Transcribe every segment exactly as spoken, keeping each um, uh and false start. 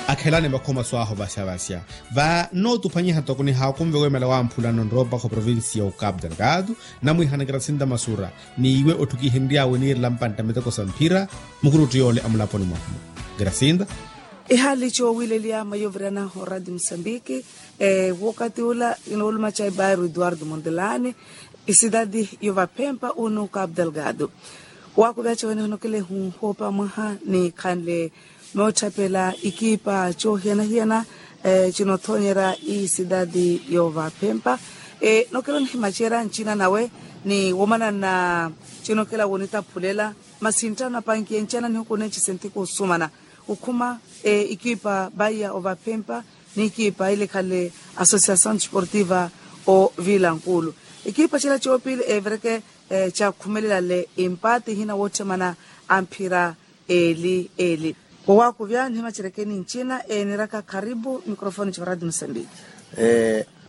Akhelani vakhomaso ahu vaxavaxa. Va nnootuphwanyiha toko nihaakunve wemela wamphulano nroopakha oprovincia ya ocapu delgado, namwiihana kirasinta masura, n'iwe otthukihenry'awe niirela mpantta miteko sa mphira. Mukurutti yoole amulaponi mwahu. Kirasinta. Ehaali coowileliya mayovirana oradio musambiki. Wokati ula inoolumaca ebairu eduardo mondelani, isidadi yovaphempa unu capu delgado. Waakuvyaca wene honokele huhoopa mwaha ni khanle mootthapela ikiipa coohiyana-hiyana. Cinothoonyerya isidadi yoovaphempa. Nokela onihimacerya ncina nawe ni womanana cinokela wonitaphulela. Masi nttano apankiye ncana nihuku neecise ntiku osumana okhuma ikiipa baiya ovaphempa n'ikiipa ile khale associação desportiva o vilankulu. Ikiipa cila coopili evereke cakhumelelale empate ihina wootthemana amphira eli eli. Wowakuvya nihimacerekeni ncina eeniraka karibu microfone ca radio mosambiki.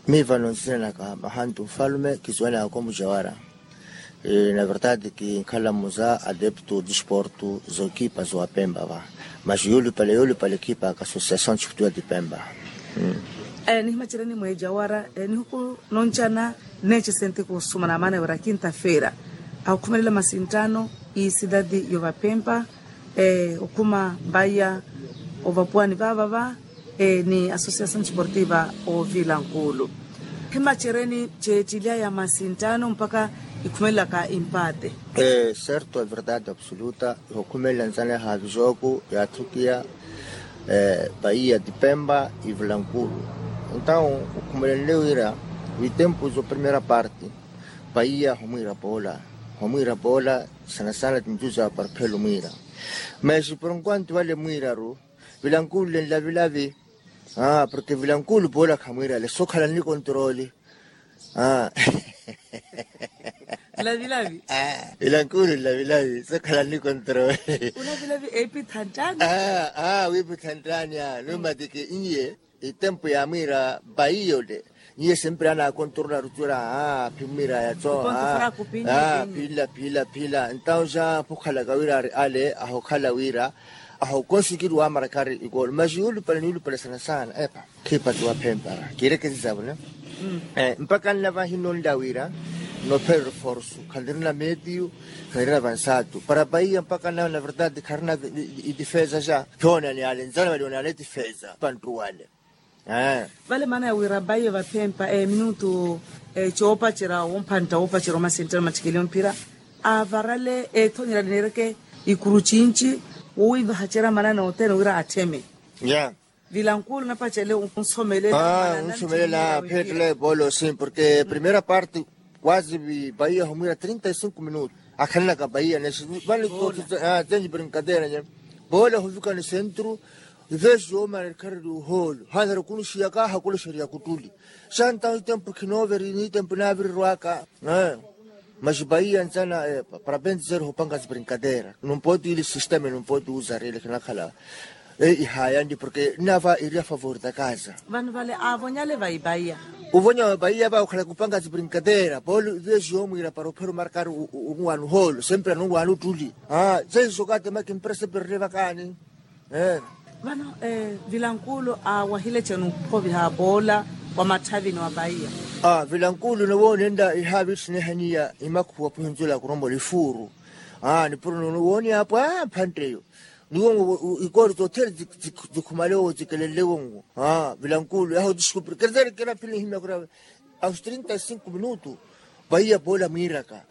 Miivano nsinanaka mahantu nfalume kisuwanaka omucawara. Na verdade kinkhala muza adepto disporto zokipa zowapemba va. Mas yolupale yolupale kipa ka associação disportiva dipemba. Nihimacereni mweejawara nihuku noncana neecesente kuhusumana amaana wira kintafeera ahukhumelela masinttano isidadi yovapempa okhuma mbaiya ovapuwani vavava ni associação desportiva ovila nkulu. Himacereni ceettilyaya masinttano mpakha ikhumelelaka impaate. Certo a verdade absoluta ihukhumelela nzana ya havijoku yaathukiya. Paiya tipempa ivila nkulu. Entaw okhumelenle wira vitempu zo primeira parte paiya humwiira poola humwiira poola sana sana tintuza parphelo mwiira. Mas por enquanto vale mwiiraru vilankulu nlavilavi. Porque vilankulu poola khamwiirale sokhala nli kontroli. Nlavilavi. Vilankulu nlavilavi sokhala nli kontroli. Ulavilavi eepitha nttani. Wiipitha nttani a numatiki n'iye itempu yaamwiira paiya ole n'iye sempre anaakontorona arucura. Phimmwiira yatso. Phila phila phila entaw ja phukhalaka wira ari ale ahukhala wira ahukonsikiri wamarakari ikolo mas yulupale niyulupale sana sana epa. Khipati waphempa kiirekesi zavona. Mpaka nla vahinonla wira nophera reforso khanirina medio khanirina vansatu para paiya mpaka nla na verdade kharina itifeza ja. Phioona ni ale nzana vali onale tifeza pantruwale. Vale maana ya wira paiya vaphempa minutu coopacerya wompantta woopacerya omasenttano mattikeliyo mphira avarale eethonyerya niireke ikuru cinci wowiivahacerya maana nothene wira attheme. Vilankulu napacele onsomelela. Onsomelela pheettela epoolo sim porque primeira parte quase paiya humwiira trinta e cinco minutu akhanelaka paiya nesi vale. Tenyi brinkatera nye poola huvika ni sentru. Ivesi yoomana ekhareli ohoolo haanara okunixiyaka hakulexeriya kutuli. Xa entaw itempu khinooveri n'itempu naavirirwaka. Mas paiya ntsana para pente zero hupanga zibrinkatera numpooti ili sisteme numpooti uzarele khinakhala. Ihayanli porque nava iri a favor da kaza. Vano vale avonyale vaipaiya. Uvonya vaipaiya va ukhala kupanga zibrinkatera polo ivesi yomwira para uphera omarkari. Unwaani uholo sempre anunwaani utuli. Seiso katemaki mprese perre vakaani. Vano vilankulu awahile cenu ophoviha poola wa mathavini wa paiya. Vilankulu nowoonenla ihaavitthiniha niya imakhuwa phuhinzula kuromola ifuuru. Nipuro nowooniya apwa mphantte eyo niwo ikoori tothene zikhumale wo zikelenle wonwo. Vilankulu yaha otiskupi kerezerikera phili nihimya kura aos trinta e cinco minutu. Paiya poola mwiiraka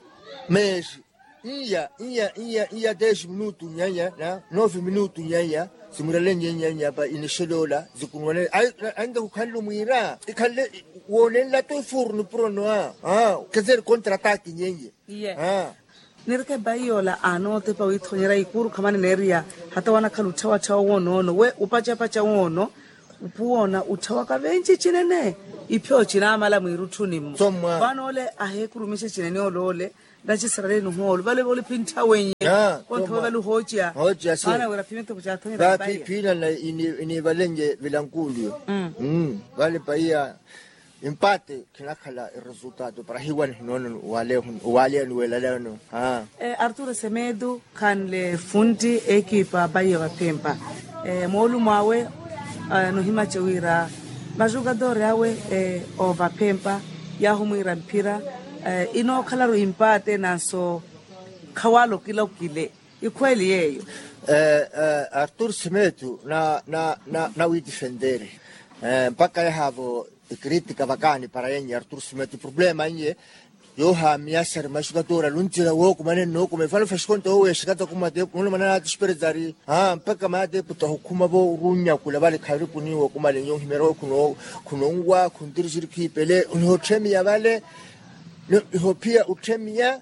meesi iya iya iya iya dez minutu nyanya na nove minutu nyanya. Simwirale nyenya nyapa inexele ola zikunwanele. Ainda kukhanle omwiira ikhanle woonenla to ifuru nipuro noa. Kezeri kontra ataki nyenye. Nireke paiya ola anootepa wiithonyerya ikuru khamane neeriya hata wanakhala otthawatthawa wonoono we opacapaca woono. Upuwoona otthawaka venci cinene ipyo cinaamala mwiirutthuni-mu. Vano ole aheekurumixe cinene ole ole nacisaraleni ohoolo vale voliphintha wenye. Konthowe vale ohooceya maana wira phimithoko caathonyerya paiya. Phiinana iniivalenye vilankuuliyo vale paiya. Empate khinakhala eresultado para hiwa nihinoona. Owaleya niweelaleyano. Arturo semedo khanle funtti ekipa paiya vaphempa moolumo awe. Nohimace wira majukatore awe ovaphempa yaahumwiira mphira inookhalaru impaate nanso khawaala okila okile. Ikhweeli yeeyo. Artur simetu na na na na witifentere mpakha yahaavo ekritika vakaani para yenye artur simetu problema nye. Yoohaamiya sari maxukatora lunzira wookumane nnookuma efano fexkonto wooweexekata kumate muno manana ati xiperetari mpakha mate puta ohukhuma vo oruunyakula vale khaviripuni wookumale nyo ohimerewa khunonwa khuntirixiri khiipele nihotthemiya vale. Nihophiya otthemiya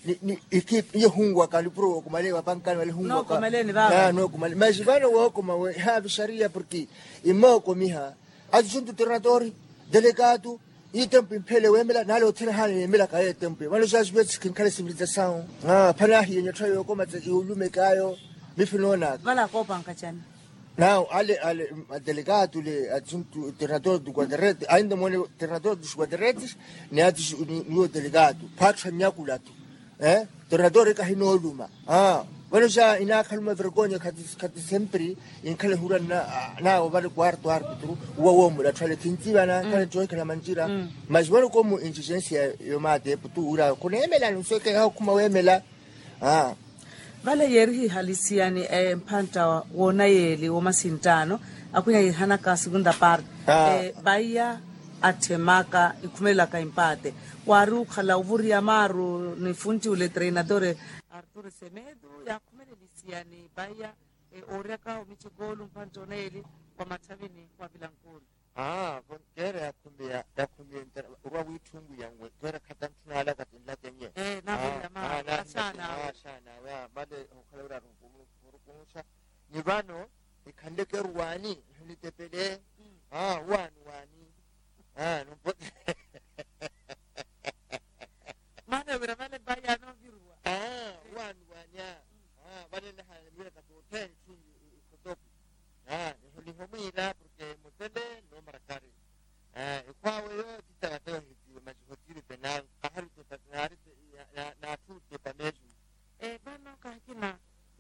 ni ni ikiipa iyo hunwaka lipuro wookumale wapankani wale hunwaka. Nookumale maxi vano wookuma we haavi xariya porke imookomiha ati xuntu trinatori delegatu itempu imphele weemela naale othene haana yeemelaka yeetempu vano xaxivetsi khinkhale sivirizasawu. Phana ahiye nyotthwa yookoma tse iwulumekaayo mifi noonaka. Vale akoopanka cani? Nawu ale ale adelegatu le asuntu trinatori tu kuatereti ainda mone trinatori tu kuatereti ni ati niwo delegatu phatthu anyakulatu. Trinatori kahinooluma vano xa inaakhaluma vergonya khati sempri inkhala ehura nawo vale kuartu arpitru uwa woomulatthwale khintsivana khala ntoohikhala manjira. Mas vano komu intigensia yomatepu tu wira khuneemela nusweke yahokhuma weemela. Vale yeerihiha lisiyani mphantta woonayeeli woomasinttaano akhwinya yiihanaka segunda parte. Vaiya atthemaka ikhumelelaka impaate waari okhala ovuriya maaru ni funti ole treinadore artur semedo yaakhumelele lisiyani vaiya ooryaka omici koolu mphantta onayeeli wa matthavini wa vilankulu. Aa vo keera yakhumiya yakhumiya entera orwa wiitthunku ya nwe keera khatantthu naalaka tinlakenye. Ee navirira maana xaana awe. Xaana awe aa vale okhala wira arukunuxa ni vano nikhanleke eruwaani nihunitepele. Aa owaani waani aa numpote. Maana wira vale vaya nooviruwa aa owaani waani aa vale nihana niwira katoottheni tthunju ikhotoku. Nihomwiira porke mutele noomarakari ekhwaawe yo titavate ohitiwe masi hotiri penal kahari tepa naari naatthu tepa mesu. Vano kahakina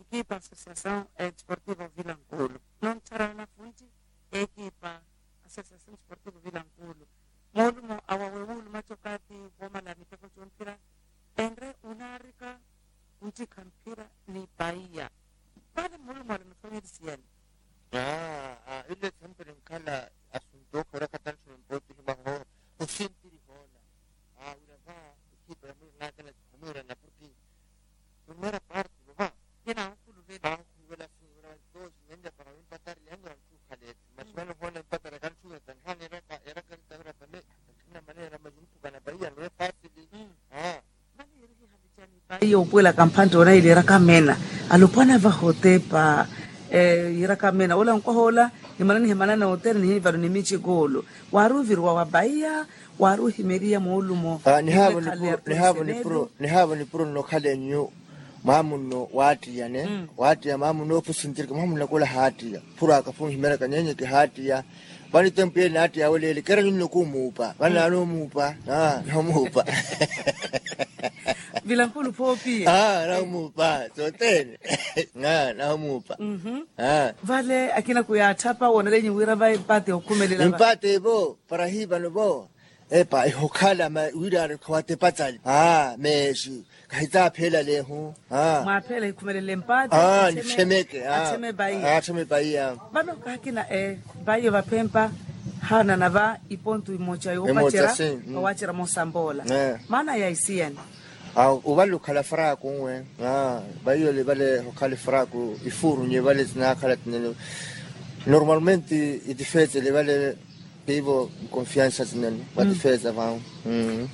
ikipa associasaw desportivo vilankulu nontthara nafunti ekipa associasaw desportivo vilankulu moolumo awawe wuulumaca okathi woomala miteko coomphira enre unaarika ontikha mphira ni paiya. Vale muulumwale muthomelisiyani. Ile sempere nkhala asuntu okhorakha tantthu nimpootihi mwaho osintiri hoona. Wira va ekipa yamwiranakela omwiirana porke primera parte vova kinahukhuluvela ahukhuluvela asinwela vantosi nenle para wimpatari yange vantthukhaleti masi vano hoona impatari akantthukhaleta nihana eraka eraka eritavira tame. Namaneera masi nthukana paiya nowe fasili. Vale yeerihiha micani paiya opuwelaka mphantte onayeli eraka meena alopwana vaha otepa. Yiiraka meena ola nkwaha ola nimana nihimanana otere nihivalo ni mici koolo. Waari oviriwa wa paiya waari ohimeriya moolumo. Nihaavo nipuro nno okhala enyu mwaamunno waattiyane waattiya mwaamunno opusintirika mwaamunno akula haattiya phurwaka phunhimeraka nyenye kihaattiya. Vano itempu yeli naattiya aweleele keera nyunno kumuupa vano naanoomuupa. Nahomuupa. Vilankulu phoopiya nahomuupa sothene. Nahomuupa. Vale akina kuyaattha pa woonalenyu wira va empaate okhumelela va empaate vo para hivano vo epa ehokhala ma wira ari khawatepatsali. Meexi kahitsaapheela lehu. Mwaaphela hikhumelele mpaate. Nixemeke attheme paiya. Vano kahakina paiya vaphempa haanana va ipontu imoca yoopacerya. Owacerya moosampoola maana ya isiyani. Ovale okhala fraku nwe vaiyo livale okhale fraku ifuuru nye vale zinaakhala tinene. Normalmente itifeetsele vale tivo nkonfiansa tinene vatithweeza vau.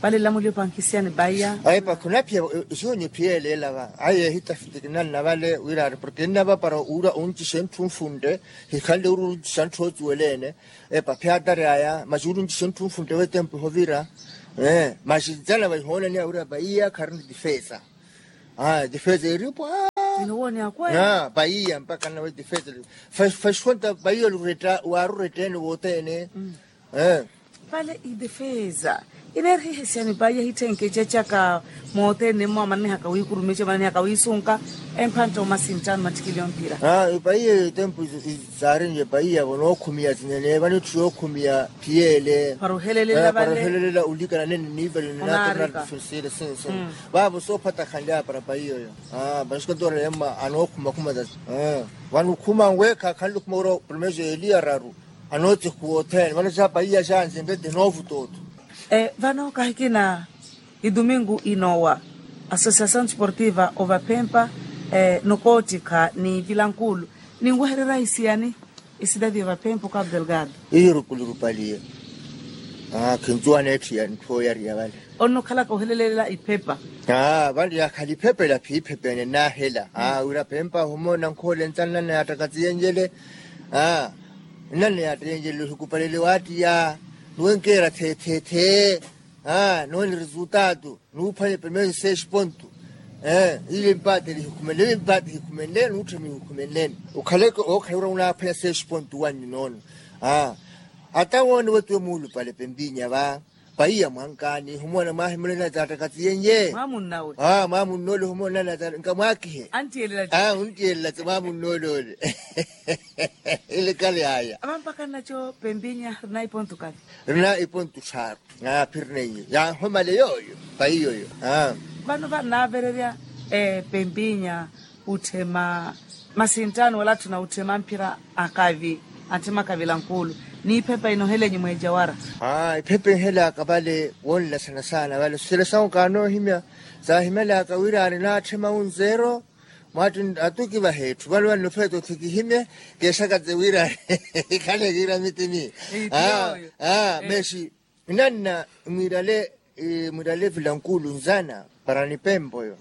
Vale lamulio pankisiyani vaiya. Ayi pakhunaphiya. Isiwo niphiyelela va ayi ehitafiti kinanna vale wiraari porke nnava para ura ontixa enthu nfuntte hikhanle ura ontixa nthu ocuweleene. Epa phiya atari aya masi ura ontixa enthu nfuntte wetempu ehovira. Masi nzala vaihoonaniya wira vaiya kharina tifeeza. Tifeeza eripwa. Vaiya mpakha nawe tifeeza. Faikonta vaiya oluretta waaruretteene wootteene. Vale idefeza ineerihihesyani paiya hitthenke ececaka. Mootene mmo amananihaka wiikurumica amananihaka wiisunka. Emphantta omasinttano mattikili omphira. Paiya etempu saarinye paiya vonookhumiya sinene vanitthu yookhumiya phiyele. Para ohelelela vale para ohelelela olikana nene niivali ninaatona. Sensile sinsi vaavo soophatakhanlya para paiya oyo. Vanxikatoora yemma anookhuma khuma tasi. Vano okhuma nweekha akhanle okhuma wira primeiro eliya raru. Anootsikhuwa othene vano xa paiya xanse mbete noovutootho. Vano kahikina idumingu inoowa associação desportiva ovaphempa nokoottikha ni vilankulu ninwehererya isiyani? Isidadi ovaphempa okapu delgado. Iyo rukulurupaliye. Khincuwa aneetthiya ntthu ooyariya vale. Onnukhalaka ohelelelela iphepa. Vale yakhala iphepa ela phiiphepa ene nnaahela wira phempa ohumoona nkhoole nsa nnanna yaattakatiyenjele. Nnanna yaattakatiyenjele ohikupalele waattiya nuwenkeera theethethe. Nooni resultado nuuphwanye primeiro seis ponto. Ile mpaate lihikhumenle ile mpaate hikhumenle nuutthemi hikhumenleni. Okhaleke ookhala wira unaaphwanya seis ponto wanyu noona. Ata woone wettiwe muulupale pempinya va paiya mwankaani humoona mwaahimulena zaattakatiyenye. Mwaamunna ole humoona nkamwaakihe. Unttiyelela tse mwaamunna ole ole. Ile kale aya. Ava mpakha nnaco pempinya rina iponto kale. Rina iponto tthaaru. Phirina iyo yaahomale yooyo. Paiya oyo. Vano vannaavererya pempinya utthema masinttano wala atthu na utthema mphira akavi atthema akavi lankuulu. Ni iphepa inohelenyu mweejawara. Iphepa inhelaaka vale woonla sana sana vale sosele sawu kaanoohimya saahimelaka wira ari naatthema unzeero. Mwaattu atuki vaheetthu vale vanno feeta othikihimye keexakatse wira ikhale kiira mitini. Mexi nnanna mwiirale mwiirale vilankulu nzana para nipempa oyo.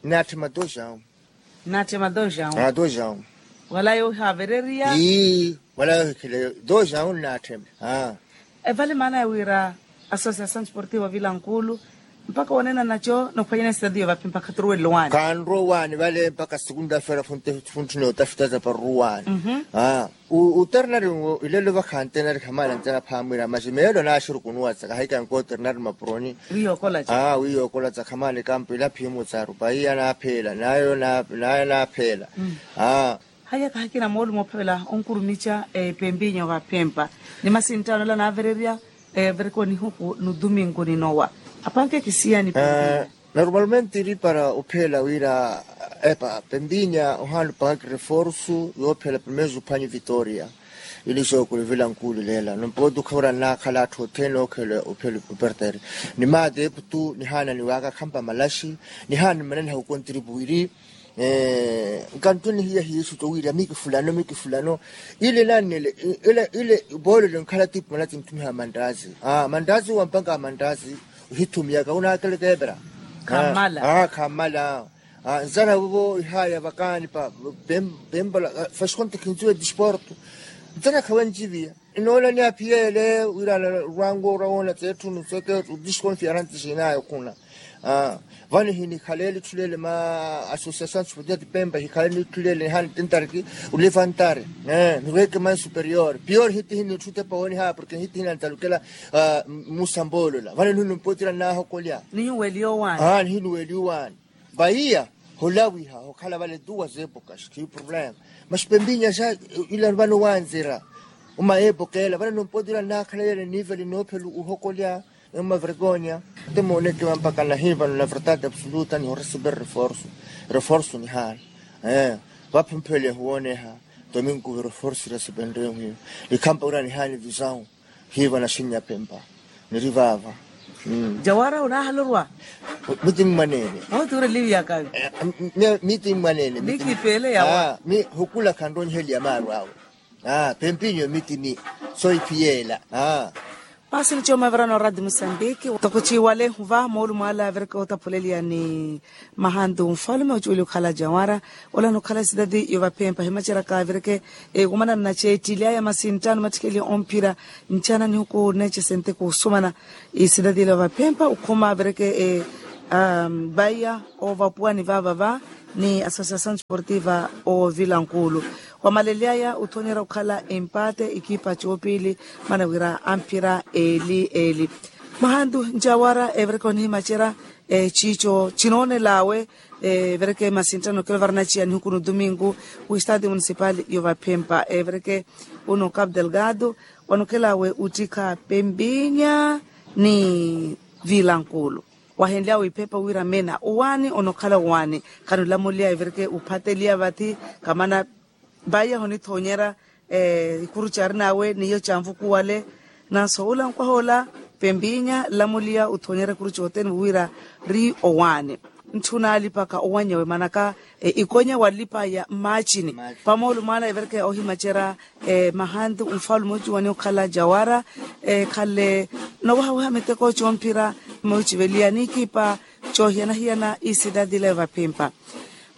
Nnaatthema doxawu. Nnaatthema doxawu. Doxawu. Wala yoohaavereriya. Ii wala yoohikheleyo doxawu nnaatthema. Evale maana ya wira associação desportiva vilankulu mpakha woonena naco nophwanyana esitadiyo vapi mpakha turuwelelo waani. Kaanrowaani vale mpakha sikunta feera funtthu nootafita za paruruwaani. Uternarinwo ilelo vakhantenari khamaana nzana phaamwira maxi meelo naaxirukunuwatsa kahaikanka oternari mapuroni. Wiyookolatsa khamaana ekampu ila phiimutsaaru paiya naapheela nayo naapheela. Haya kahakina moolumo ophavela onkurumica epempinya ovaphempa ni masinttaano ala naavererya. Vereke onihuku nudumingu ninowa apanke kisiyani pempinya. Normalmente iri para opheela wira epa pempinya ohaana opaka kireforsu yoophela primeiro juphwanyu vitoria. Ili xookuli vilankuuli leela nompooti okhavira nnaakhala atthu othene ookhela ophela opertere. Ni maati eputu nihaana niwaaka khampa malaxi nihaana nimananiha okontiripu iri. Nkanttunihiya hiisu towirya mikifulano mikifulano. Ile nannele ile boolelo nkhala tipu manatsi nthumiha mantazi. Mantazi wampanga mantazi ohithumiyaka unaakeleke epera. Khammala. Nzana vovo ihaaya vakaani pa pembola. Fasikonte khinziwe disporto nzana khawenjiviya. Inoolaniya phiyele wira rwango ora woona tseetthunu seke disconfiarante sinaya okhuna. Vano hinikhaleele itthulele ma associação de spotiyati pempa hikhaleele itthulele nihaana tintariki ulivantare. Nirweke mai superior pior hitihi nitthu tepa wooniha porke hitihi nantalukela. Musamboolola vano nihinumpotira nnaahokolya. Nihinuweliya owaani. Vaiya holawiha hokhala vale duwa zeepoka xikhiyi problema. Maxi pempinya xa ila vano wanzira uma eepoka ela vano nompotira nnaakhala yela niivali noophela ohokolya. Emma vergonya. Te mooneke vampakana hiivano na verdade absoluta nihoresiperi reforsu. Reforsu nihaana. Vaphumpheeliya huwooneha tominkuvi reforsu irasepenreyo hiyo. Ikhampa wira nihaana visawu. Hiiva naxinnya pempa niri vaava. Jawara onaahala orwa. Miti mmwaneene. Ooti oreliwiyaka. Miti mmwaneene. Mikipeele yawa. Mi hukula khanroniheliya maaru awe. Pempinyo miti mi soipiyeela. Paasi ni cooma avirana oradi musambiki toko ciiwale huva moolumo ala avireke otaphuleliya ni mahantu nfalume ocuweli okhala jawara. Ola nokhala esitati yovaphempa himaceraka avireke. Ekumana nnaceettili aya masinttano mattikeli omphira ncana nihuku nneece sente kuusumana. Esitati ela yovaphempa okhuma avireke vaiya ovapuwani vaavava ni associação desportiva ovilankuulu. Wamalelyaya othoonyerya okhala empate ekipa coopili, mana wira amphira eli eli. Mahantu njawara evereke onihimacerya ciico cinoonelawe. Evereke masinttano kelo varanaciya nihuku no domingo, wistati municipal yovaphempa evereke uno cap delgado, wanokhelawe uttikha pempinya ni vilankulu. Wahenlyawe iphepa wira mena owaani onokhala owaani. Khanulamuliya evereke uphateliya vathi kamana. Vaiya honithoonyerya ikuru caarinawe n'iyo canvukuwale. Nanso ula nkwaha ola pempinya nlamuliya uthoonyerya ikuru cothene wira ri owaani. Ntthuna alipaka owanyawe manaka ikonya walipa ya mmaacini. Pamoolu mwaala evereke ohimacerya mahantu nfaalume ocuwani okhala jawara ekhale nowahawaha miteko comphira. Mmuciveliya n'ikipa cohiyana-hiyana isidadi leyo vaphimpa.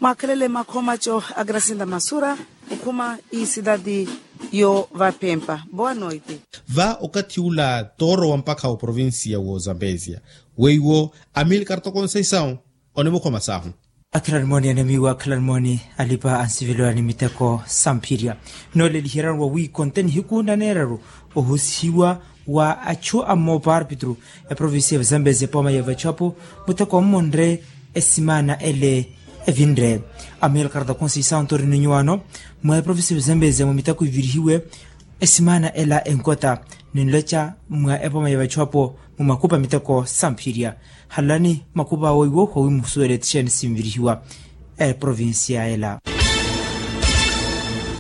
Mwaakhelele makhomaco a grasinda masura okhuma isidadi yo vaphimpa. Boa noite. Va okathi ula tooro wa mpakha wa provincia wo zambezia weiwo amilcar tokonseisau onimukhoma sahu. Akhilanimooni anemiiwa akhilanimooni alipa ansiveliwa ni miteko samphirya. Nooleliheryani wa wiikonte nihiku naneeraru ohusihiwa wa achu a mmoopa arpitru eprovincia ya vazambezi epooma ya vachu apo muteko mmonre esimaana ele evinre. Amilcar da conceição tori ni nyuwaano mwa eprovincia ya vazambezi mwa miteko ivirihiwe esimaana ela enkota ninloca mwa epooma ya vachu apo mu makupa miteko samphirya. Halani makupa awo iwo wawimusuwela etixeni sinvirihiwa eprovincia ela.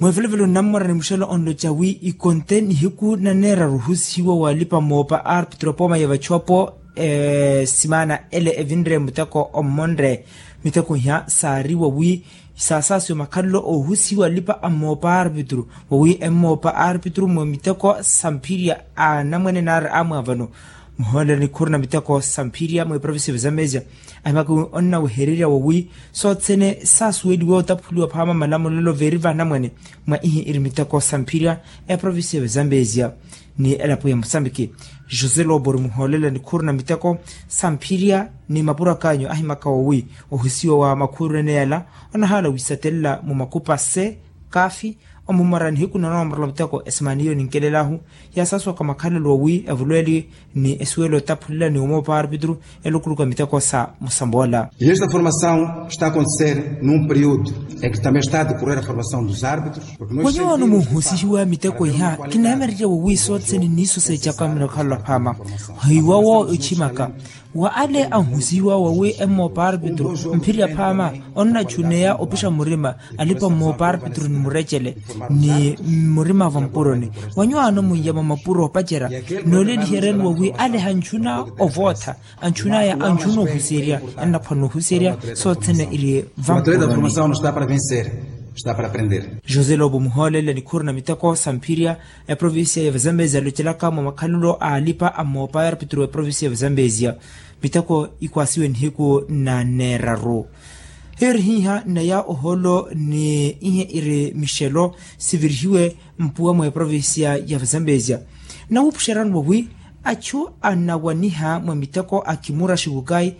Mweevelevelo nnammora ni muxela onloca wi ikonte nihiku naneeraru ohusihiwa walipa moopa arpitro pooma ya vachu apo esimaana ele evinre muteko ommonre. Miteko iha saari wawi saasaasiwa makhalelo oohusihiwa alipa ammoopa arpitro wawi emmoopa arpitro mwa miteko samphirya anamwene naari amwaavano muhoolelo nikhuru na miteko samphirya mwa eprovincia ya vazambezia. Ahimaka wi onnawehererya wawi sothene saasuweliwa otaphuliwa phaama malamulelo veeri vanamwene mwa ihi iri miteko samphirya eprovincia ya vazambezia ni elapo ya musambiki. José lobo ori muhoolela nikhuru na miteko samphirya ni mapuro akaanyu ahimaka wawi ohusiwa wa makhuru ene yala onahaala wisatelela mu makupa se kafi. Omumora nihiku nanoomorola muteko esimaaniyo ninkelelaahu yaasasuwaka makhalelo owi evulweeli ni esuwelo etaphulela ni omoopa arpitru elukuluku a miteko sa musamboola. E esta formação está a acontecer num período em que também está a decorrer a formação dos árbitros. Wanyuwaano muhusihiwa miteko iha kinamererya wowi sothene niiso seecaka minokhalola phaama. Hiwawo echimaka wa ale anhusihiwa wawi emmoopa arpitru mphirya phaama onnachuneya opixa murima alipa mmoopa arpitru ni murecele ni murima va mpuroni. Wanyuwaano munyama mapuro opacerya nooleliheryani wawi ale hanchuna ovootha anchunaya anchuna ohuserya annaphwana ohuserya sothene iri va mpuroni. José lobo muhoolela nikhuru na miteko samphirya eprovincia ya vazambezi alocelaka mwa makhalelo a alipa ammoopa ya arpitru eprovincia ya vazambezia. Miteko ikwaasiwe nihiku na neeraru. Hiyo iri hiiha naya ohoolo ni ihe iri mixelo sivirihiwe mpuwa mwa eprovincia ya vazambezia. Nawuupuxerani wawi achu anawaniha mwa miteko a kimura xikukayi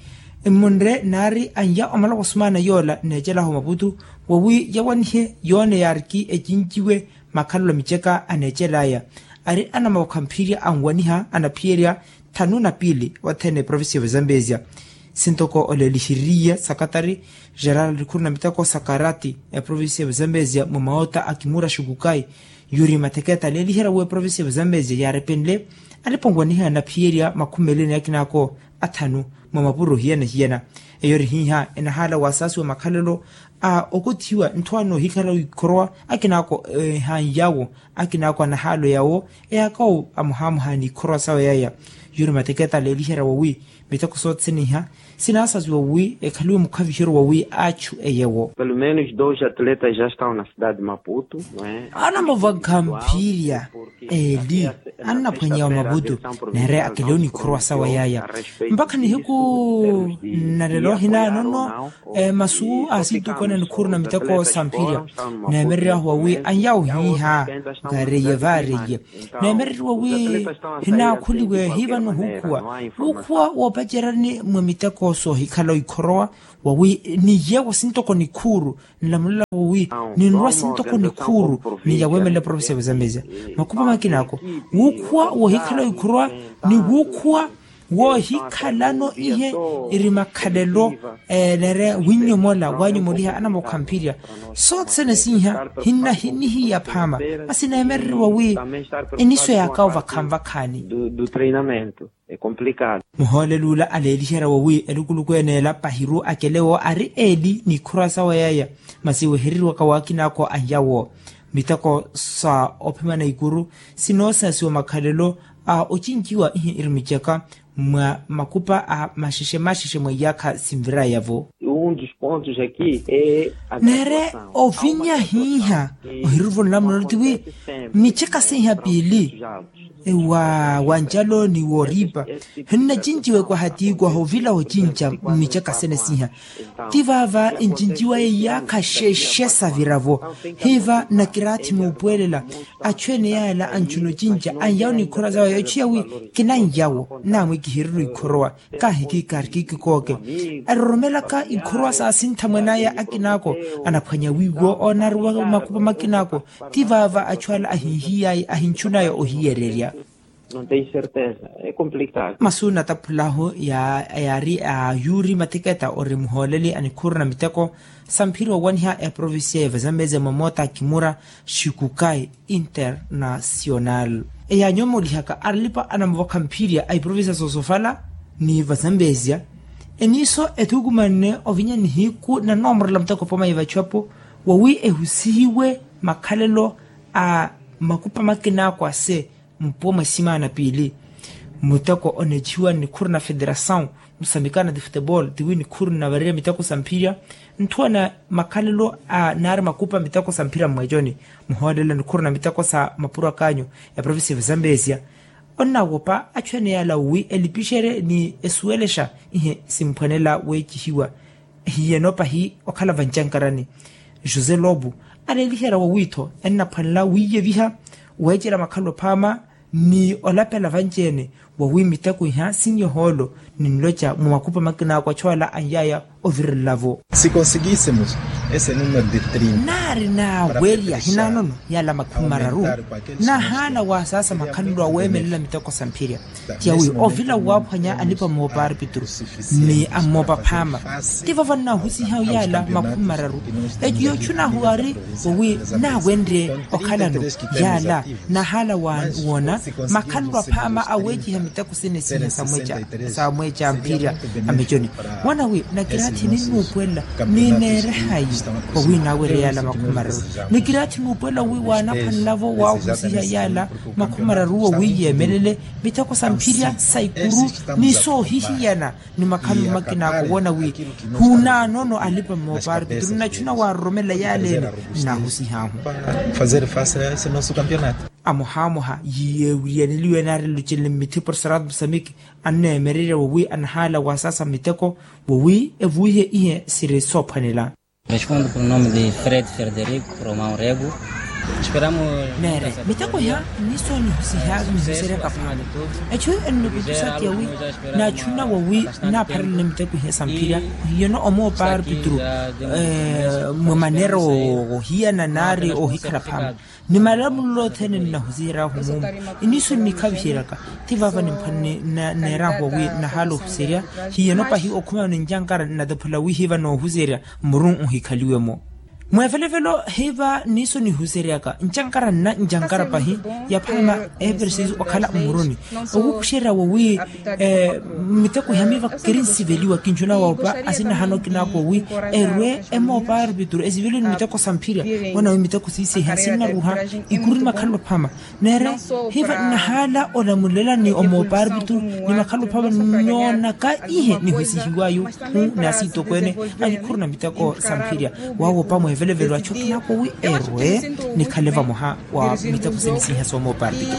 mmunre naari anya omala wasumaana yoola neecelaho maputu wawi yawanihe yoone yaariki ecinci we makhalelo a miceka aneecelaya ari anamawakha mphirya anwaniha anaphiyerya thanu na piili othene eprovincia ya vazambezia. Sintoko olelihiriye sakatari geral alikhuru na miteko sakarati eprovincia ya vazambezia mwa maota a kimura xikukayi yuri matheketa aleeliherya wi eprovincia ya vazambezia yaarepenle alipa onwaniha anaphiyerya makhumi meli ni akinaako athanu mwa mapuro hiyana hiyana. Eyo eri hiiha enahaala wasaasiwa makhalelo a okothiwa ntthu anoohikhala ikhorowa akinaako ehaani yaawo akinaako anahaalo yaawo eyaakawo amuhaamuhaani ikhorowa sawe yaya. Yuri mateketa aleeliherya wawi miteko sothene iha sinaasasiwa wi ekhaliwe mukhaviheryo wawi aachu eyewo. Pelo menos dois atletas já estão na cidade de maputo. Anamavakha mphirya eeli Annaphwanyeya wa mavutu, neere akelewo nikhurwa sawa yaaya. Mpakha nihiku nnalelo hinaanono masu a sintukwene nikhuru na miteko samphirya. Neemereryahu wawi anyawo hiiha, vaareiye vaareiye. Neemereriwa wi hinaakhuliwe hiivano huukhuwa, wuukhuwa woopacerani mwa miteko soohikhala oikhorowa. Wawi niyewo sintoko nikhuuru, nlamulelavo wi ninrwa sintoko nikhuuru, niyaweemelela provincia vazamezia. Makupa makina ako, wuukhuwa woohikhala oikhorowa, ni wuukhuwa woohikhalano ihe iri makhalelo. Neere winnyomola waanyomoliha anamokhamphirya. Sothene siiha hinna hinihiya phaama. Masi neemereriwa wi enisweya akawo vakhaani vakhaani. Muhoolelo ula aleeliherya wowi elukuluku ene ela pahiru akelewo ari eeli n'ikhurwa sawa yaya. Masi wehereriwaka waakina ako anyawo miteko sa ophimana ikuru sinoosaasiwa makhalelo a ocinjiwa ihi iri micaka mwa makupa a maxexe maxexe mwa iyaakha sinvirayavo. Neere ovinya hiiha ohiruruvolela muno tiwi micaka seiha piili wa wancalo ni wooriipa. Hinnacinjiwa ekwaha tiikwaha ovila ocinca mmicaka sene siiha. Ti vaava encinjiwa eyaakha xexe saviravo. Hiiva nakiraathi nuupwelela achu ene yaala anchuna ocinca anyawo nikhorowa sawe yochiya wi kinanyawo naamwi kihirira ikhorowa. Kaahikikari kikikooke eroromelaka ikhorowa saasintha mwenaya akinaako anaphwanya wiiwo onaariwa makupa makinaako. Ti vaava achu ala ahinhiyaya ahinchunaya ohiyererya. Masu nataphulahu yaari a yuuri mathiketa ori muhooleli a nikhuru na miteko samphiri owaniha eprovincia evazambezia mwa moota kimura xikukai internacional. Eyaanyomoolihaka arlipa anamuvokha mphirya a iprovincia soosofala ni vazambezia. Eniiso ethukumanne ovinya nihiku nanoomorela muteko poma ivachu apo wawi ehusihiwe makhalelo a makupa makinaako ase mpuwa mwa simaana piili. Muteko oneechihiwa ni nikhuru na federasaw musamikana ti futebol tiwi nikhuru nnavarerya miteko sa mphirya. Nthuwana makhalelo a naari makupa miteko sa mphirya mmweeconi muhoolela nikhuru na miteko sa mapuro akaanyu eprovincia vazambezia. Onnawopa achu ene yaala wi elipixerye ni esuwelexa ihe simphwanela weecihiwa. Hiyeno pahi okhala vancankarani. José lobo aleeliherya wawiitho ennaphwanela wiiyeviha weecela makhalelo phaama ni olapela vanci-ene wawi miteko iha sinyohoolo ninloca mwa makupa makinaako achu ala anyaya ovirelelavo. Naari naawerya hinaanono yaala makhumi mararu. Nahaala waasaasa makhalelo aweemelela miteko sa mphirya. Tiya wi ovila waaphwanya alipa moopa arpitru ni ammoopa phaama. Ti vava nnahusiha yaala makhumi mararu. Eti yochunahu ari wowi naawenrye okhalano yaala. Nahaala woona makhalelo aphaama aweeciha miteko sene siha sa mweeca mphirya ameconi. Woona wi nakiraathi ninnuupuwelela ni neerehayi wowi naawerye yaala makhumi mararu. Nikiraathi nuupuwelela wi waanaphwanelavo waahusiha yaala makhumi mararu wowi yeemelele miteko sa mphirya sa ikuru ni soohihiyana ni makhalelo makina ako woona wi hunaanono alipa moopa arpitru nnachuna waaroromela yaaleene. Nnaahusihahu amohamoha yiyeewiriyaneliwe naari nlucenle mmithi porserado musamiki anneemererya wowi anahaala waasaasa miteko wowi evuwihe ihe siri soophwanela. Respondo por nome de fred frederico romão rego. Neere miteko iha nnisoonihusiha nihuseryaka phaama. Echu ennukutusa tiya wi naachuna wowi nnaapharelene miteko iha sa mphirya. Hiyeno omoopa arpitru mwa maneera ohiyana naari ohikhala phaama. Ni malamulo othene nnahusihery'ahu muumu. Iniso nnikhaviheryaka ti vaava nimphwanene neer'ahu wowi nnahaala ohuserya. Hiyeno pahi okhuma ni ncankara nnataphulela wi hiiva noohuserya mmuru nhuhikhaliwe-mo. Mweevelevelo hiiva niso nihuseryaka ncankara nna ncankara pahi ya phaama epersisi okhala mmuruni. Okukuxerya wowi miteko iha miiva kiri nsiveliwa kinchuna woopa asinahano kinaako wowi erwe emoopa arpitru esiveliwe ni miteko sa mphirya. Woona wi miteko siiseha sinnaruha ikuru ni makhalelo phaama. Neere hiiva nnahaala olamulela ni omoopa arpitru ni makhalelo phaama nnoonaka ihe nihusihiwayu hu ni asiitokweene a nikhuru na miteko sa mphirya. Waawopa mweevelevelo achu akinaakowi erwe nikhale vamoha wa miteko sene siiha soomoopa arpitru.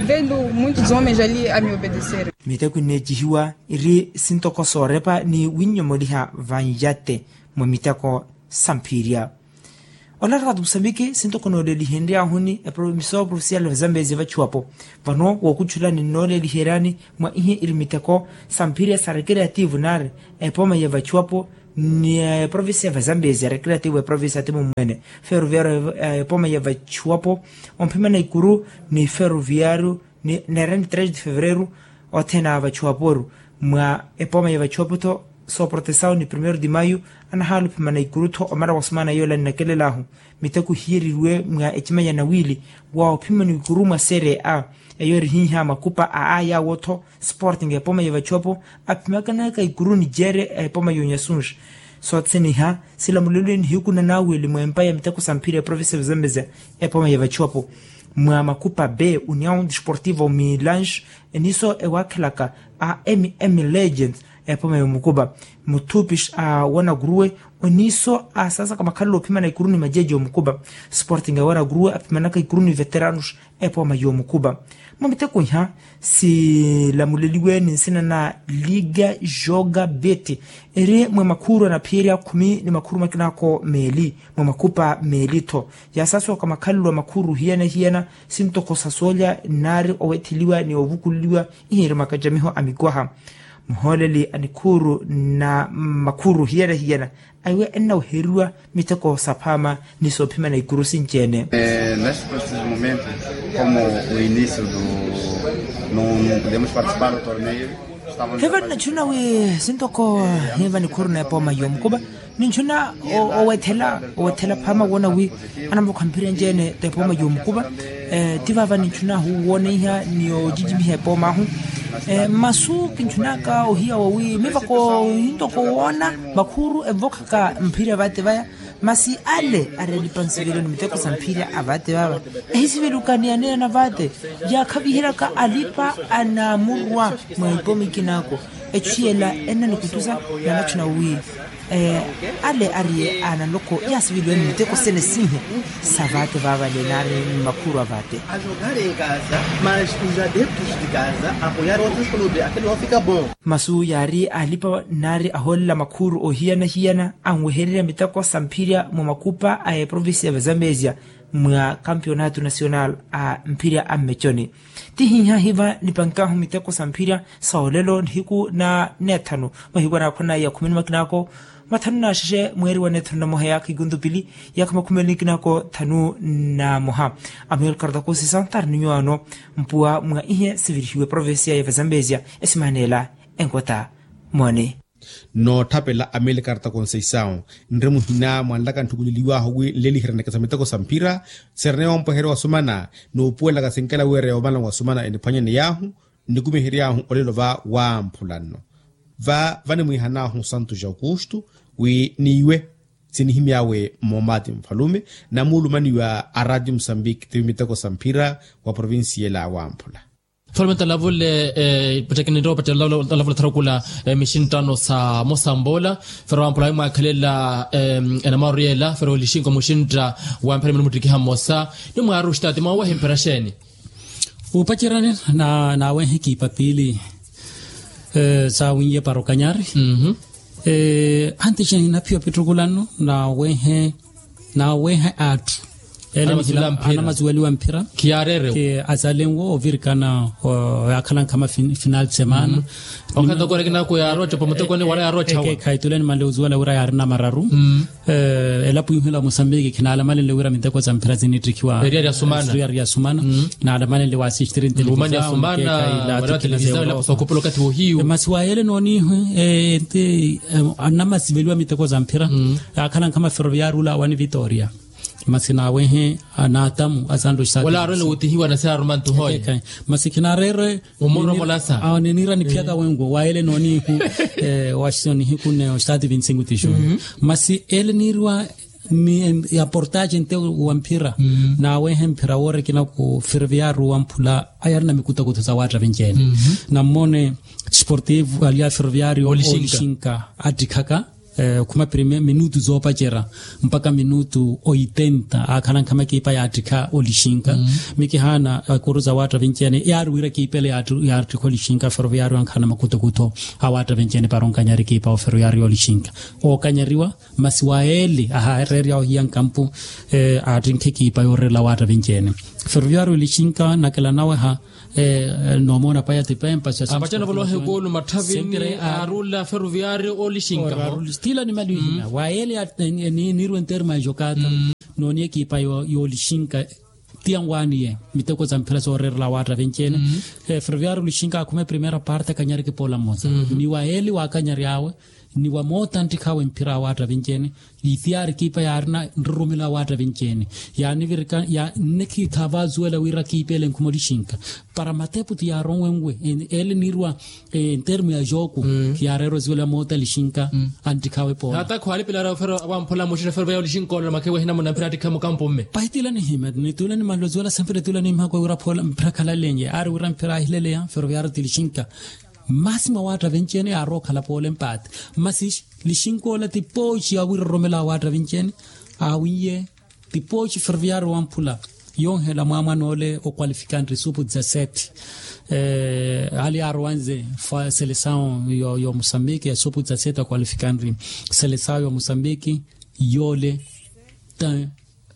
Vendo muitos homens ali a me obedecer. Miteko inneecihiwa iri sintoko soorepa ni winnyomoliha vanjate mwa miteko samphirya. Olaraka tu musambiki sintoko noolelihenryahuni eprovincia oprovincial vazambezi vachiwapo. Vano wookutchula ninnooleliheryani mwa ihe iri miteko samphirya sa recreativo nari epoma ya vachiwapo ni eprovincia vazambezi ya recreativo eprovincia ati mumwene. Ferroviario epoma ya vachiwapo omphimana ikuru ni ferroviario ni neerani três de fevereiro. Othene a vachuwaporu mwa epoma ya vachuwapo-tho sooprotesawo ni primeiro de maio anahaala ophimana ikuru-tho omara wa sumana yoola nnakelel'ahu. Miteko hiyereriwe mwa ecima ya nawiili wa ophimana ikuru mwa serie a eyo erihiiha makupa a aya awo-tho sporting epoma ya vachuwapo aphimaakanaka ikuru ni jeere epoma ya onyasunji. Soothene iha silamuleliwe nihiku na naawili mwa empa ya miteko sa mphira ya provincia ya vazambezia epoma ya vachuwapo mwa makupa b união desportivo milange eniso ewaakhelaka a mm legends epoma ya omukupa muthupis a wanakuruwe oniso a saasaka makhalelo ophimana ikuru ni majeji omukupa sporting a wanakuruwe aphimanaka ikuru ni veteranos epoma ya omukupa. Mwa miteko iha silamuleliwe ni nsina na liga joga beti eri mwa makhuuru anaphiyerya khumi ni makhuuru makinaako meeli mwa makupa meeli-tho. Yaasaasoka makhalelo a makhuuru hiyana hiyana sintoko sa soolya nnaari owetheliwa ni ovukuleliwa ihiiri makacamiho a mikwaha muhooleli a nikhuuru na makhuuru hiyana hiyana aiwe ennaweheriwa miteko saphaama ni soophimana ikuru sinci-ene. Neste preciso momento como o início do no podemos participar do torneio. Hivyo ninachuna wi sintoko hiva nikhuuru na epoma yomukupa ninchuna owethela owethela phaama woona wi anamukhamphirya nci-ene t'epooma y'omukupa. Ti vaava ninchuna huwoneiha ni ocicimiha epoom'ahu. Mmasu kinchunaka ohiya wowi mivako hintoko woona makhuuru evokhaka mphirya vaate vaya. Masi ale ari alipa nsivelo ni miteko sa mphirya a vaate vaava ehisiveluka ni aneena vaate yaakhaviheryaka alipa anaamurwa mwa epooma ikinako. Echu yela ennanikutusa nanachuna wi ale ariye a naloko yaasiveliwe ni miteko sene sinhe sa vaate vaavale nari mmakhuuru a vaate. Masu yaari alipa nari ahoolela makhuuru ohiyana-hiyana anwehererya miteko sa mphirya mwa makupa a eprovincia ya vazambezia mwa kampionato nacional a mphirya a mmeconi. Ti hiiha hiva nipankahu miteko sa mphirya sa olelo nihiku na neethanu mahiku anaakhona ya khumi ni makinaako mathanu na axexe mweeri wa neethanu na moha yaakha ikuntu pili yaakha makhumi eli ni kinaako thanu na moha. Amiyo likarata khunsisa ntaari ni nyuwaano mpuwa mwa ihe sivirihiwe provincia ya vazambezia esimaneela enkota moone. Nootthapela amelikarta konseisawu nri muhina mwanlaka ntthukuleliwahu wi nleliheryaneke sa miteko sa mphira. Sereneya ompweherya wasumana nuupuwelaka sinkela wira yoomala wasumana eniphwanyaneyaahu nnikumiheryaahu olelo va wamphula nno. Va vanimwihanaahu santu ja aukustu wi niiwe sinihimyaawe moomati nfalume namuulumaniwa a ratio musambiki tivi miteko sa mphira wa provincia ela wamphula. Solamente alavule epattekeni nrowa opattelela alavule tharukula mixinttano sa mosambola. Fero wampola ayi mwaakhelela enamaru yela fero olixinko muxintta wamphera mino muttikiha mmosa ni mwaaru oxitaati mwawehe mphera xeeni? Upacerani naawehe kiipapili saawiiye parokanyari. Anti xeeni naphiya opittukulano naawehe naaweha atthu ele anamasuweliwa mphira. Khiyaarerewo azalenwo ovirikana yaakhala nkhama final de semana. Okhatakore kinaku yaaroca pamutekoni wala yaaroca wa khaitule nimanle ozuwela wira yaarina mararu. Elapo ihu ela musambiki khinaalamalenle wira miteko sa mphira sinittikhiwa eriyari yasumana. Naalamalenle waasistiri ntelevisisawu. Masi waayele noonihu nti annamasiveliwa miteko sa mphira yaakhala nkhama ferroviario ula wani vitoria. Masi naawehe naatamu asanto xisati wala aarwene wutihiwa na se aaruma ntuhoye. Masi khinaareere omoromolasa awo niniira niphiyaka wenwo waayele noonihu. Waxisonihiku ne oxitaati vinti cinco tixu masi ele niiriwa aportaxe nte wa mphira. Naawehe mphira woorikina ku ferroviario wamphula ayarina mikutakutho sa waatta vinci-ene. Nammone sportivo ali a ferroviario olixinka attikhaka Okhuma prime minutu zoopacerya mpakha minutu oitenta aakhala nkhama ekipa yaattikha olixinka. Mikihaana ekuru za waatta vinci-ene yaari wira ekipa ele yaattikha olixinka feroviyaari wankhala na makuthokutho awaatta vinci-ene para onkanyari ekipa oferoviyaari yoolixinka. Ookanyariwa masi wa ele ahaareerya ohiya nkampu aattinkha ekipa yooreerela awaatta vinci-ene. Feroviyaari olixinka nakela naweha. Noomona paya tipempa apattena volohe koolu matthavini aarulla feroviyaari olixinka tila ni mali wihina wa ele. Niirwe nterma ya jokata nooni ekipa yoolixinka. Tiya nwaaniye miteko za mphira sooreerela awaatta vinci-ene. Feroviyaari olixinka akhume primera parte akanyariki poola mmosa ni wa ele wakanyary'awe ni wa moota nttikhawe mphira awaatta vinci-ene. Itiyaari ekipa yaarina nrurumelo awaatta vinci-ene yaanivirika nnekhiitha avaazuwela wira ekipa ele nkhuma olixinka. Para matepu ti yaaronwenwe ele niirwa ntermu ya jooku khiyaareera ozuwela moota lixinka anttikhawe poola. Hata khwaalipilari ofero awamphula muxina feroviyaari olixinka ololo makhewe ehina muna mphira attikha mukampu mme. Pahi tila nihima nitula nimanle ozuwela sempere tula nimhakwe wira phola mphira khalalenye aari wira mphira ahileleya feroviyaari ti lixinka. Masi mwa waatta vinci-ene yaarowa okhala poola empaati masi lixinka ola ti pooci awiiroromela awaatta vinci-ene. Awiiye ti pooci feroviyaari wamphula yonhela mwaamwana ole okwalifikanri supu dezasete. Ale yaarowanze selesawu yo musambiki ya supu dezasete okwalifikanri selesawu yo musambiki yole.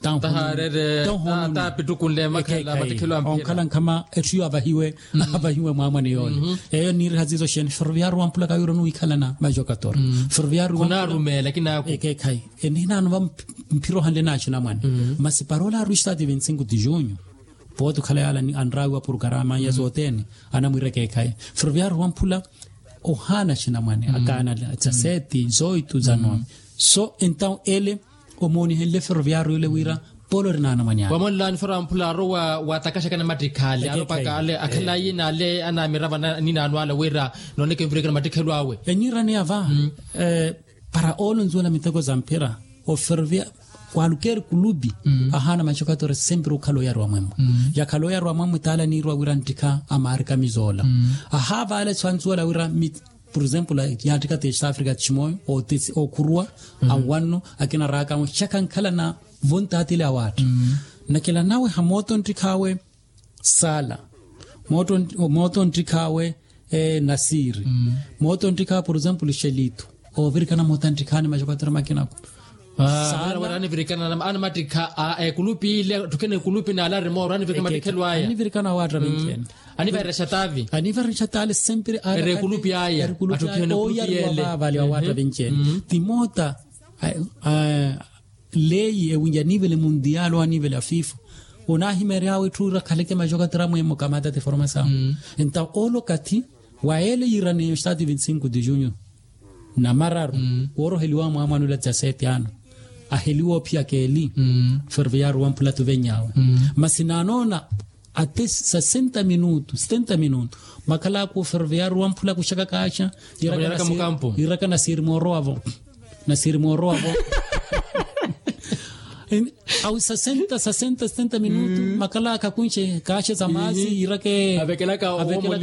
Tahaarere taapittukunle makhela mattikhelo a mpira onkhala nkhama etthu iyo avahiwe avahiwe mwaamwane yoole. Eyo niiriha ziizo xeeni feroviyaari wamphula kawiira onuwikhalana majokatori feroviyaari wamphula khunaarumeela kinaakhu. Ekeekhayi enihinaano va mphira ohanle naaxinamwane masi para ole aari wistati vinti-sinku ti junyu. Pooti okhala yaala anraawiwa purukarama ya sothene anamwiira ekeekhayi feroviyaari wamphula ohaana axinamwane akaana za seti zoitu za nomi. So entawu ele omoonihenle feroviyaari ole wira polo ori naanamwane ale. Wamonlaani feroviyaari wamphula aarowa waatakaxaka namattikha ale aaropaka ale akhala ayina ale anaamirava aninaano ale wira nooneke mvireke namattikhelo awe. Eniiraniya va para oolonzuwela miteko za mphira oferoviya kwaalukeeri kulupi ahaana majokatori sempiri okhala oyariwa mwemmo. Yakhala oyariwa mwemmo taala niirwa wira nttikha amaarikamiza ola ahaavaale sanzuwela wira. Por exemplo yaattikha ti east africa tiximooyo ookhuruwa anwanno akina raaka anwe xaka ankhalana vontaatile awaatta. Nakela nawe hamoota onttikhaawe saala moota onttikhaawe nasiiri moota onttikhaawe por exemplo xelitu. Oovirikana moota nttikhaani majokatori makinaku saala wira anivirikana anamattikha ekulupi ile atthukene ekulupi naale arimooro anivirikana mattikhelo aya anivirikana awaatta vinci-ene. Anivarexa taavi anivarexa taale sempiri ere ekulupi aya atthukene ekulupi ele. Vale awaatta vinci-ene ti moota leyi ewinja anivele mundial o anivele a fifa onaahimery'awe etthu ira khaleke majokatori amwemmo kamata ti formasawu. Entawu oolo okathi wa ele yiiraneya estati vinti-sinku ti junyu namararu wooroheliwa mwaamwanula dezasete ano aheliwa ophiyaka eli. Ferroviario wamphula tuvenyawe masi naanoona ate sesenta minutu setenta minutu makhalaka oferroviario wamphula kuxaka kaaxa yiiraka nasiiri moorowavo. Nasiiri moorowavo awi sesenta sesenta setenta minutu makhalaka kunxe kaaxe za maasi yiirake avekelaka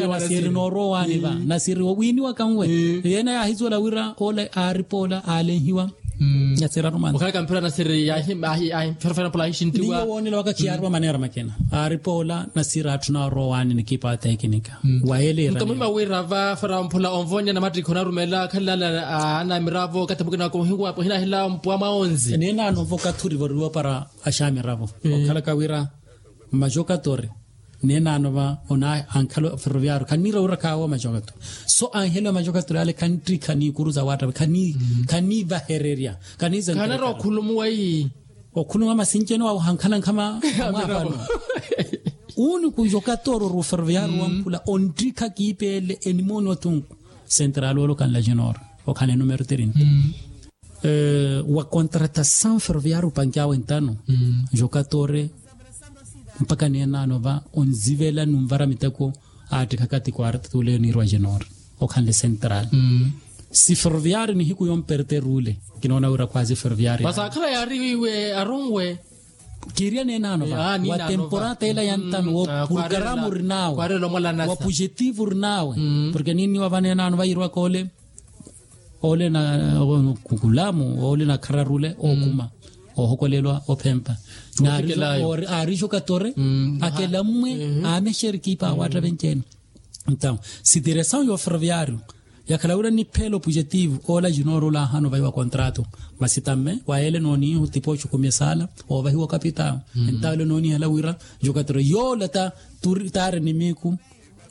nasiiri noorowa waani va nasiiri owiiniwaka nwe. Yeene yaahizuwela wira ole aaripoola aalenhiwa nasiiri arumana okhalaka mphira nasiiri yaahi yaahi mphira fana pola aahixintiwa woonela waka khiyaariwa maneera makina aaripoola nasiiri atthu naorowa waani nikipa atekinika. Wa ele nkamuhima wira va fara mphula onvonya namattikhi onarumelela khalilala anamiravo okathi mukina waka ohinahila mpwa mwaonzi. Neenano vo okathi orivoriwa para axamiravo okhalaka wira mmajokatori neenano va onaankhala ferroviario khanniira wira khaawo majokatori so anheliwa majokatori ale khanttikha niikuru za wattavi khaniivahererya khaniizenterekana okhulumuwa masinci ene wawe ohankhala nkhama. Mwahano uuni kujokatori ori oferroviario wamphula onttikha kiipeele enimooni othunku sentrali olokanla jinor okhala enumero trinta. Wa contratasawu ferroviario opanky'awe ntano jokatori mpakha neenano va onzivela nunvara miteko aattikha kati quarta tuleyo niirwa jinor okhanle sentrali. Si ferroviario nihiku yomperter'ule kinoona wira khwaazi ferroviario masi akhala yaari wiiwe aronwe. Kiiriya neenano va wa temporata ila ya ntano wa purukaramu ori nawe wa pujetivu ori nawe porke niinniwa va neenano va yiirwaka ole. ole na kukulamu ole na khararule okuma ohokolelwa ophempa. Aari jokatore akelammwe amexeri kipa awatta venci-ene. Entaw sitiresawu ya oferoviario yakhala wira niphela opujetivu ola jinooro ola ahano vayiwa kontrato. Masi tamme wayele nooniihu tipoxi okhumya esala ovahiwa okapitawu. Entaw ele noonihela wira jokatore yoola ta taari nimiiku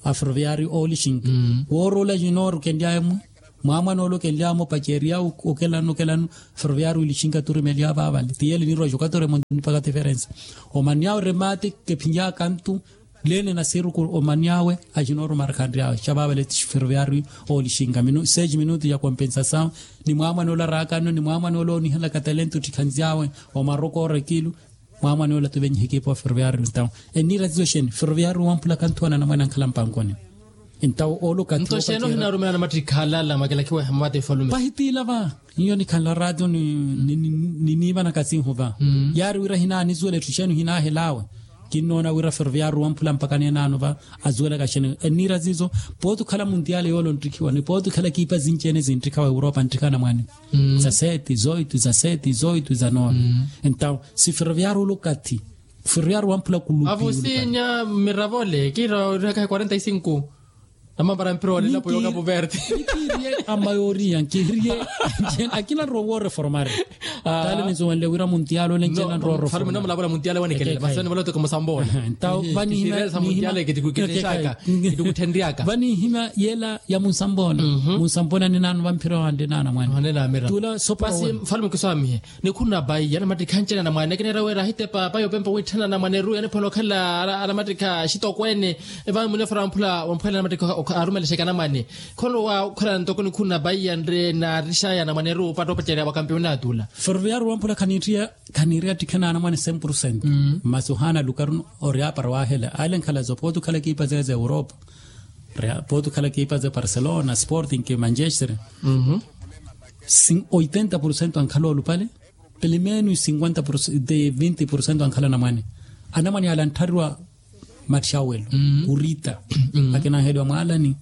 aferoviario oolixinka woorola jinooro kenlyaya mwi mwamwana ole okenlyaya mwe opacerya okelano okelano. Ferroviario olixinka turimeliya vaavale tiyele niirwa jokatore mwe nipaka tiferensa. Omanyawe remate kephinyakantu lene nasiru omanyawe ajinooro markhandryawe xa vaavale tiferroviario oolixinka seis minutu ya kompensasawu. Ni mwamwana ole arakanno ni mwamwana ole oonihelaka talento ttikhanzyawe omarokoora ekilu. Mwamwane ola tuvenyihe ekipa wa ferroviario entawo eniira tizo xeeni ferroviario wamphula kanthuwana anamwane ankhala mpankoni. Entawo oolo kathi nto xeeni ohinarumela namattikha alala makelakiwa ehemmata efalume pahitiila va. Iyo nikhanla ratio niniivanaka sinhu va yaari wira hinaanizuwela etthu xeeni ohinahelawe. Kinnoona wira ferroviario wamphula mpaka neenaano va azuwelaka xeeni eniira tizo. Pooti okhala muntiyale yoole onttikhiwa ni pooti okhala ekipa sinci-ene zinttikhawa europa nttikha anamwane za seti zoitu za seti zoitu za nono. Entawo si ferroviario olukathi ferroviario wamphula kulupi avusinya mmiravole kiira orihakahe quarenta y cinco. Namambara mphira waleelapo yoka puverte nikiiriye amayooriya nkiiriye. Akina nrowa wooreformari taale ninsuwenle wira muntiyale ole nci-ene nrowa oreformari. Mulaavola muntiyale wanikele masani vale otoko musambola entawo vanihimya vanihimya yela ya munsambola munsambola ninaano vamphira wande naana mwane. Tula sopasi mfalume kiswamihe nikhuna bayi anamattikha anci-ene anamwane akinera wira ahitepa bayi opempa witthana anamwane eruya niphola okhala anamattikha axitokweene. Evaani munefera wamphula wamphwela anamattikha arumelexeke anamwane. Kholo wa okhala ntoko nikhuna bayi yanre naarixaya anamwane eruya opattopacerya wa kampionato ula. Ferroviario wamphula khaniittiya khaniiriya attikhe naanamwane cem purcento. Masi ohaana lukaru ori apara wahela ale nkhala zopooti okhala ekipa zeye za europa pooti okhala ekipa za barcelona sporting manchester. Oitenta purcento ankhala olupale pelo menos cinquenta de vinti purcento ankhala anamwane. Anamwane ale antthariwa matthi awelo kurita akinanheliwa mwaalani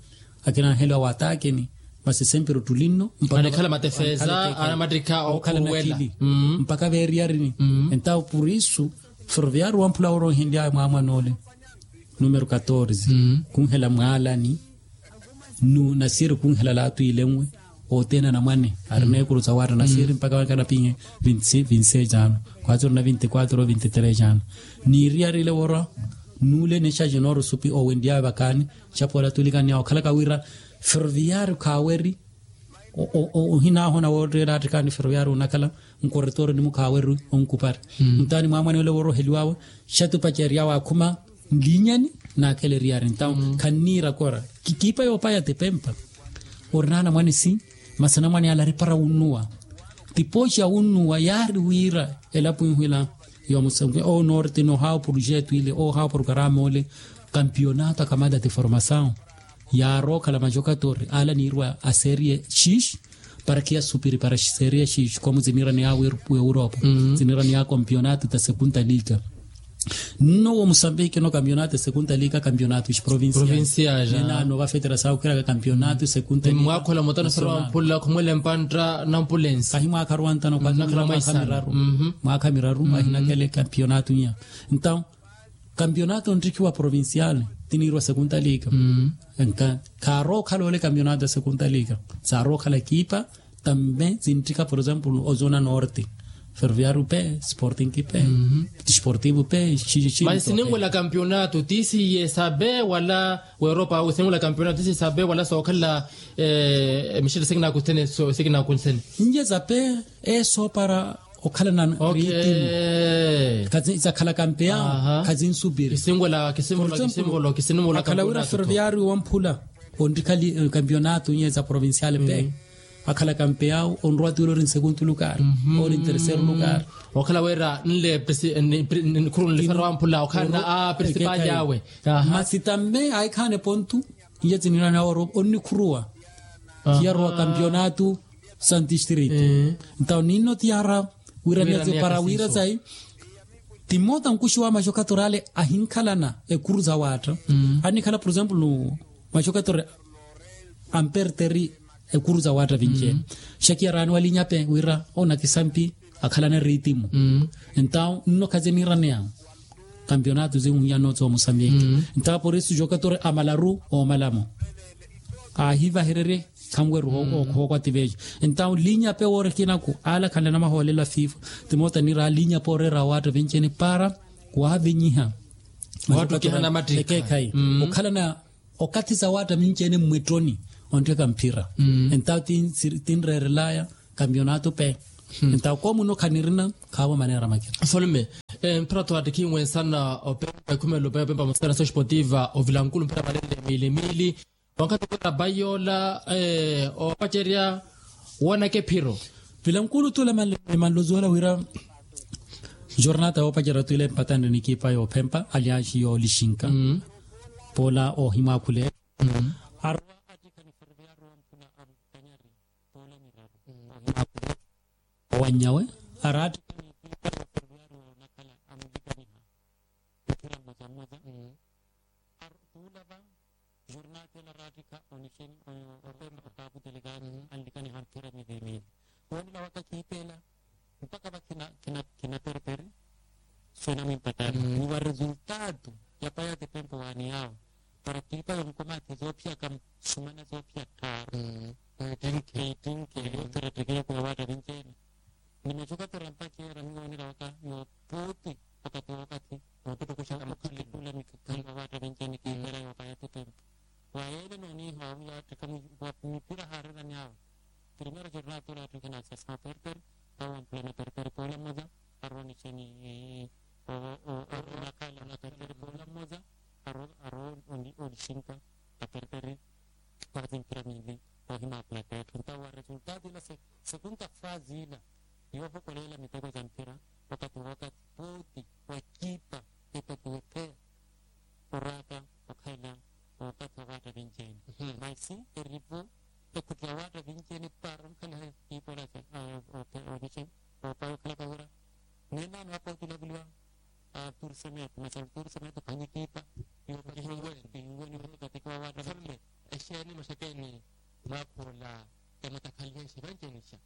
akinanheliwa watakeni. Masi sempiri ottulinno anakhala matefeza anamattikha okhala nakhili mpaka veeriyarini. Entawo purisu ferroviario wamphula worohenlyaya mwaamwan'ole numero katorze kunhela mwaalani. Nasiiri kunhela laatu ilenwe othene anamwane arina ekuru sa watta nasiiri mpaka wakanapinhe vinti seis ano khwatsi orina vinti quatro vinti tres ano. Niiriyari ile worwa nuule ni xa jinooro supi owenlyawe vakaani. Xapola tulikaniya okhalaka wira ferroviario khaaweri ohinahona wootteela attikhaani ferroviario onakhala nkoretooro nimu khaaweri onkupari. Ntaani mwamwane ole wooroheliwawe xatupaceryawe akhuma nlinyani naakeleriyari ntawo khanniira kora kikipa yoopaya tipempa. Orina anamwane si masi anamwane yale aripara wunnuwa tipoxi ya wunnuwa yaari wira elapo inhwila yomusenke onorte nohawa projeto ile ohawa programa ole. Kampionato akamata tiformasawu yaarookhala majokatori ale aniirwa aserie xix para khiyasupiri para serie xix komu ziniiraniya w'europa ziniiraniya kampionato ta sekunta liga. Nno wo musambiki no kampionato ya sekunta liga kampionato xi provincia. Ninaano vafetera saawukhiraka kampionato ya sekunta liga mwakhola mutano sara wamphula khumwele mpantta nampulensi kahi mwaakha ruwantano kwakhira mwaakha miraru mwaakha miraru ahinakele kampionato inya. Ntawo kampionato onttikhiwa provincial tiniirwa sekunta liga. Kaarookhala ole kampionato ya sekunta liga saarookhala ekipa tamme zinttikha por exemplo ozona norte ferroviario pe sporting pe desportivo pe. Masi sininwela kampionato ti siye sabe wala weropa awe sininwela kampionato ti siye sabe wala sookhala emixele sikinakunsene sikinakunsene. Nje sabe esoopara okhala na ritimo zakhala kampeyawo khazinsupiri. Kisinwela kisinwela kisinwela kisinwela akhala wira ferroviario wamphula onrikha kampionato nye za provincial pe akhala kampeyawo onrwa ti ole ori nsekuntu lukari ori nterseru lukari. Okhala wira nle khuru nlifera wamphula okhala na a principal yawe. Masi tamme ayikhaane pontu iye tiniirana oro onnikhuruwa tiyarowa kampionato santistrito. Ntawo ninno tiyara wira miyatse para wira sayi timota nkuxi wa maxokatorale ahinkhalana ekuru za watta. Annikhala por exemplo maxokatorale amperteri ekuru za waatta vinci-ene. Xakiya raani walinya pe wira onakisampi akhalana eritimu. Entawu nno khazi eniiraneya kampionato zinhuyano zoomusambiki. Entawu porisu jokatori amalaru omalamo ahivahererye khanweru okhookwati vejo. Entawu linya pe woori kinaku ala khanle namahoolelo a fifa timoota niira linya pe oreera waatta vinci-ene para wavinyiha. Waattukihana mattikha. Ekekhayi okhalana okathi sa waatta minci-ene mmwittoni onttheka mphira. Entawu tinreerelaya kampionato pe. Entawu koomuno khanirina khaavo maneera makina. Solme, mphira tho attikhiwe nsana opempa ekhumelo pe opempa musitana so esportiva ovilankulu mphira malele miili miili. Wankhathi okwera bai yoola oopacerya woonaka ephiro. Vilankulu tula emanlozi wala wira jornata yoopacerya tula empatanre nikipa yoophempa aliansi yoolixinka. Poola oohimwaakhule arowa attikha ni ferviario mphuna amukanyari poola miraru. Oohimwaakhule owanyawe araattikha nikipa yooferviario nakhala amulikaniha. Mphira mmoja mmoja. Tuulava jornal tela raattikha onixeni oyo opempa okakutelekani anlikaniha mphira miili miili. Woonela waka kiitela mpakha va khinapereperi. Sina mwimpatani ni wa resultado ya paya tipempo waani yaawo para kiipa yonkomathi zoophiyaka sumana zoophiya tthaaru. Eitinke yootterettekeya kuya waatta vinci-ene. Ni macokatora mpakheera miwoonela waka yoopooti wakati wookathi nootutukuxa okhalekula mikhakhani wa waatta vinci-ene kiipera yoopaya tipempo. Wa yeele nooniiha wawiya attikha mipira haareerani awe. Primero jornal tula attikha na sasima perperi. Awo ampulana perperi poola mmoja arowa onixeni. Onakhala perperi poola mmoja arowa onixinka aperperi. Wathi mphira miili oohimaakhula peethu ntawo wa resultado ila. Sekunta fazi ila yoohokolela miteko ja mphira wakati wakati pooti wa ekipa epatiwe pheya oraka okhalela okathi wa waatta vinci-ene. Masi erivo ekhuttela waatta vinci-ene para onkhaneha kiipola. Oopaya okhalaka wira neenano apa otilaveliwa. Tursemeto masi tursemeto khanye kiipa yoopatihiwe. Pinguwe ni wootikatiki wa waatta vinci-ene. Exeeni maxekeeni mwaakhoola ematakhalihexi vanci-ene xa.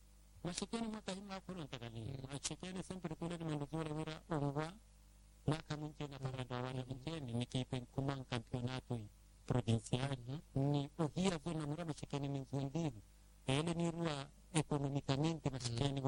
Maxekeeni mwaka himwaakhula ontakalihi maxekeeni sempre tula ni manduki wala wira onwa. Mwaakha mwinci-ene aparanta wa waatta vinci-ene ni kiipa enkhuma nkampionato provincial ni ohiya vona mura maxekeeni ni nzuwe ndiiru. Ele niiruwa ekonomikamente maxekeeni.